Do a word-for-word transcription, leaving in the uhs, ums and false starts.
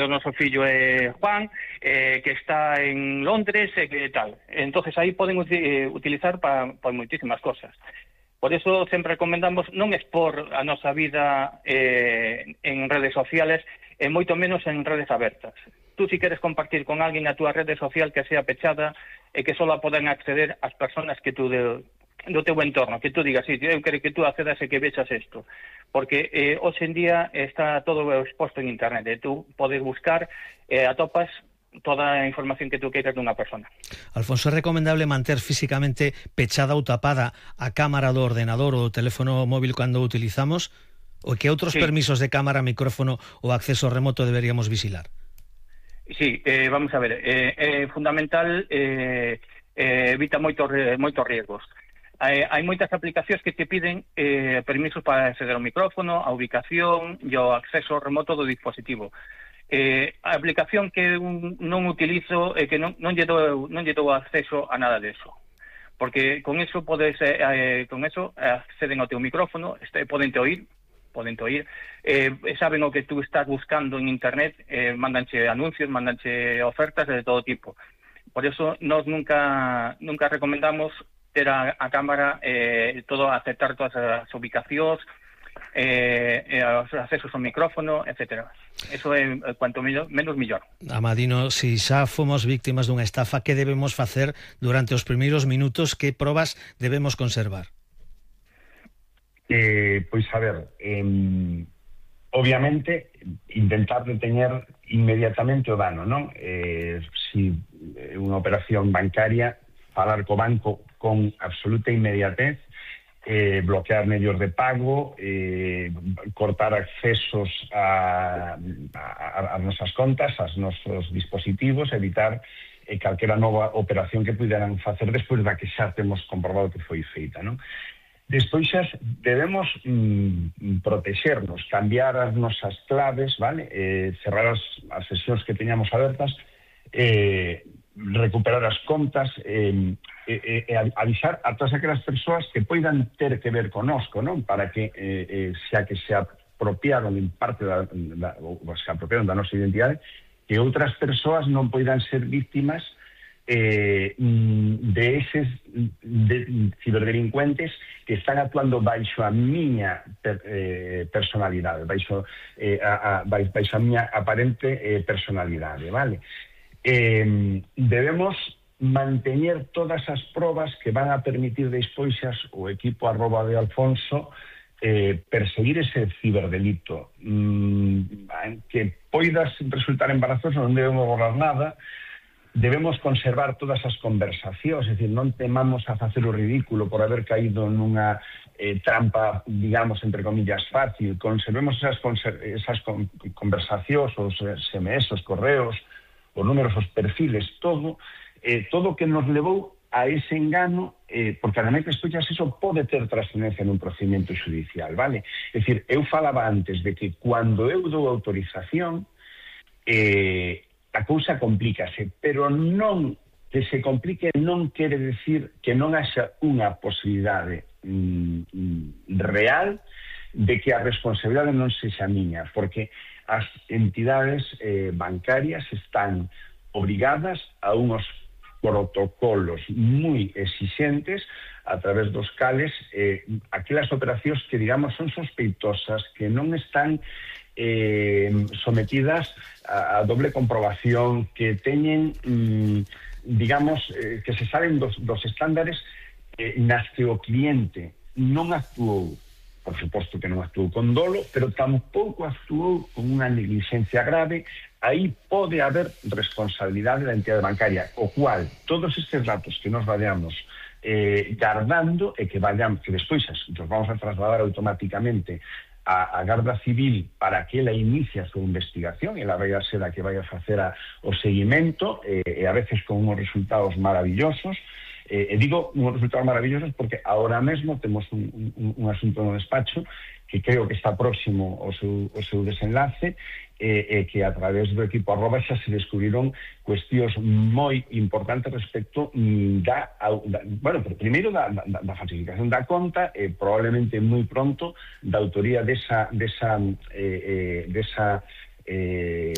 o noso fillo é Juan, eh, que está en Londres, e eh, que tal. Entonces aí poden eh, utilizar para pa moitísimas cosas. Por eso sempre recomendamos non expor a nosa vida eh, en redes sociales, e moito menos en redes abertas. Tú, si queres compartir con alguén a túa rede social que sea pechada e que só poden acceder as persoas que tú de, do teu entorno, que tú digas, sí, eu quero que tú accedas e que vexas isto. Porque eh, hoxe en día está todo exposto en internet, e tú podes buscar e eh, atopas toda a información que tú queiras dunha persona. Alfonso, é recomendable manter físicamente pechada ou tapada a cámara do ordenador ou do teléfono móvil cando o utilizamos? Ou que outros sí. permisos de cámara, micrófono ou acceso remoto deberíamos vigilar? Sí, eh, vamos a ver, é eh, eh, fundamental, eh, eh, evita moitos, moitos riesgos. Hai, hai moitas aplicacións que te piden eh, permisos para acceder ao micrófono, a ubicación e ao acceso remoto do dispositivo. Eh, a aplicación que un, non utilizo é eh, que non, non, lle dou, non lle dou acceso a nada deso. Porque con eso podes, eh, con eso acceden ao teu micrófono, este, poden te oír, poden te oír, eh, saben o que tú estás buscando en internet, eh, mandanche anuncios, mandanche ofertas de todo tipo. Por eso nos nunca nunca recomendamos ter a, a cámara, eh, todo aceptar todas as ubicacións, eh, eh, os accesos ao micrófono, etcétera. Eso é cuanto menos, menos millor. Amadino, si xa fomos víctimas dunha estafa, que debemos facer durante os primeiros minutos? Que probas debemos conservar? Eh, pois a ver, eh, obviamente intentar deteñer inmediatamente o dano, non? Eh, si unha operación bancaria, falar co banco con absoluta inmediatez, eh, bloquear medios de pago, eh, cortar accesos a, a, a nosas contas, aos nosos dispositivos, evitar eh, calquera nova operación que puderan facer despois da que xa temos comprobado que foi feita, non? Despois xa debemos mm, protexernos, cambiar as nosas claves, vale? Eh, cerrar as, as sesións que teñamos abertas, eh, recuperar as contas, eh, eh, eh, avisar a todas aquelas persoas que poidan ter que ver conosco, non? Para que, eh, eh, xa que se apropiaron en parte da, da, ou se apropiaron da nosa identidade, que outras persoas non poidan ser víctimas Eh, de eses de, ciberdelincuentes que están actuando baixo a miña per, eh, personalidade, baixo, eh, a, a, baixo a miña aparente eh, personalidade, vale? Eh, debemos manteñer todas as probas que van a permitir despois o equipo arroba de Alfonso eh, perseguir ese ciberdelito. Mm, que poidas resultar embarazoso, non debemos borrar nada. Debemos conservar todas as conversacións, é dicir, non temamos a facer o ridículo por haber caído nunha eh, trampa, digamos, entre comillas, fácil. Conservemos esas, esas con, conversacións, os S M S, os correos, os números, os perfiles, todo, eh, todo que nos levou a ese engano, eh, porque ademais despois eso pode ter trascendencia nun procedimento judicial, vale? É dicir, eu falaba antes de que cando eu dou autorización, eh, a cousa complícase, pero non que se complique non quere decir que non haxa unha posibilidade mm, real de que a responsabilidade non sexa miña, porque as entidades eh, bancarias están obrigadas a unos protocolos moi exixentes a través dos cales eh, aquelas operacións que, digamos, son sospeitosas, que non están eh, sometidas a, a doble comprobación, que teñen, mm, digamos, eh, que se salen dos, dos estándares eh, nas que o cliente non actuou, por suposto que non actuou con dolo, pero tampouco actuou con unha negligencia grave. Aí pode haber responsabilidade da entidade bancaria, o cual todos estes datos que nos vayamos eh, guardando e que vayamos, que despois nos vamos a trasladar automáticamente a, a Garda Civil para que ela inicie a súa investigación, ela vai a ser a que vai a facer a, o seguimento, eh, e a veces con uns resultados maravillosos. Eh, e digo uns resultados maravillosos porque ahora mesmo temos un, un, un asunto no despacho que creo que está próximo ao seu, ao seu desenlace, e eh, eh, que a través do equipo arroba xa se descubriron cuestións moi importantes respecto da, da bueno, primeiro da, da, da falsificación da conta, e eh, probablemente moi pronto da autoría desa desa eh, eh, desa eh,